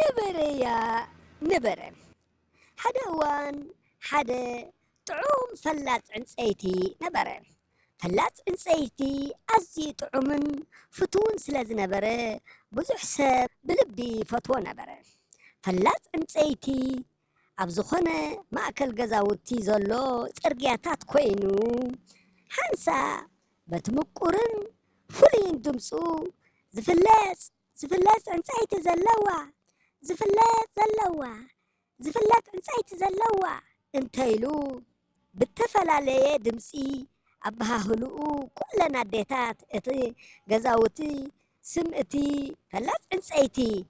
ነበረያ ነበረ። ሓደ እዋን ሓደ ጥዑም ፈላጽ ዕንጸይቲ ነበረ። ፈላጽ ዕንጸይቲ ኣዝዩ ጥዑምን ፍቱውን ስለ ዝነበረ፣ ብዙሕ ሰብ ብልቢ ይፈትዎ ነበረ። ፈላጽ ዕንጸይቲ ኣብ ዝኾነ ማእከል ገዛውቲ ዘሎ ጽርግያታት ኮይኑ፣ ሓንሳእ በቲ ምቁርን ፍሉይን ድምጹ፣ "ዝፍለጽ፣ ዝፍለጽ ዕንጸይቲ ዘለዋ፣ ዝፍለጽ ዘለዋ፣ ዝፍለጥ ዕንጸይቲ ዘለዋ" እንተኢሉ ብተፈላለየ ድምጺ ኣበሃህልኡ፣ ኩለን ኣዴታት እቲ ገዛውቲ ስም እቲ ፈላጽ ዕንጸይቲ